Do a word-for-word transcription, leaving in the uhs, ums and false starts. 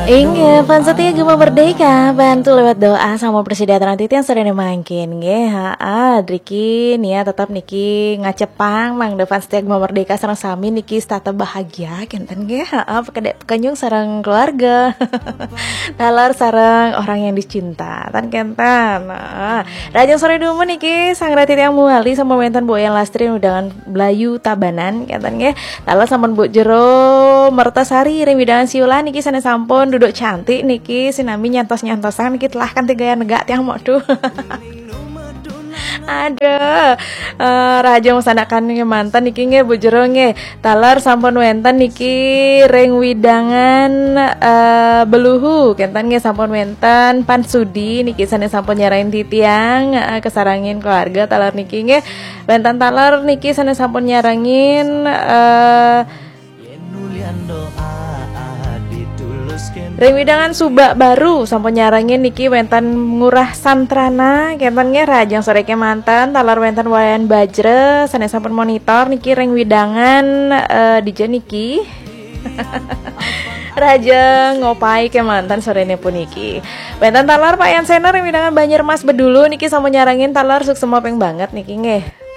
Inggih, fans setia Gema Merdeka, bantu lewat doa sama persidaran titiang sore mangkin. Nggih, haa, driki nia tetap niki ngacepang mangda fans setia Gema Merdeka sareng sami niki setata bahagia kenten nggih, haa, pekede pekenyung sareng keluarga. Taler sareng orang yang dicinta, tan kenten. Nah, rajang sore dumun niki sang rati tiang muali sama wenten Bu Yang Lastri undangan Blayu Tabanan kenten nggih. Taler sampun Bu Jero Mertasari ring widangan Siulan niki sane sampun duduk cantik niki sinami nyantos-nyantosan niki telah kan tiga yang negak tiang mau tuh. Ada eh, raja masanakan mantan niki nggih Bu Jero nggih. Taler sampun wenten niki ring widangan eh, Beluhu kenten nggih sampun wenten Pan Sudi niki sane sampun nyarain titiang eh, kesarangin keluarga taler niki nggih. Wenten taler niki sane sampun nyarangin eh, ring widangan Subak Baru sampun nyarangin niki wenten Ngurah Santrana kenten nggih rajang sore kemanten taler wenten Wayan Bajra sane sampun monitor niki ring widangan eh, dija niki. Raja ngopai kemanten sorene puniki. Wenten taler Pak Yan Sena ring widangan Banjir Mas Bedulu niki sampun nyarangin taler suksema ping banget niki nggih.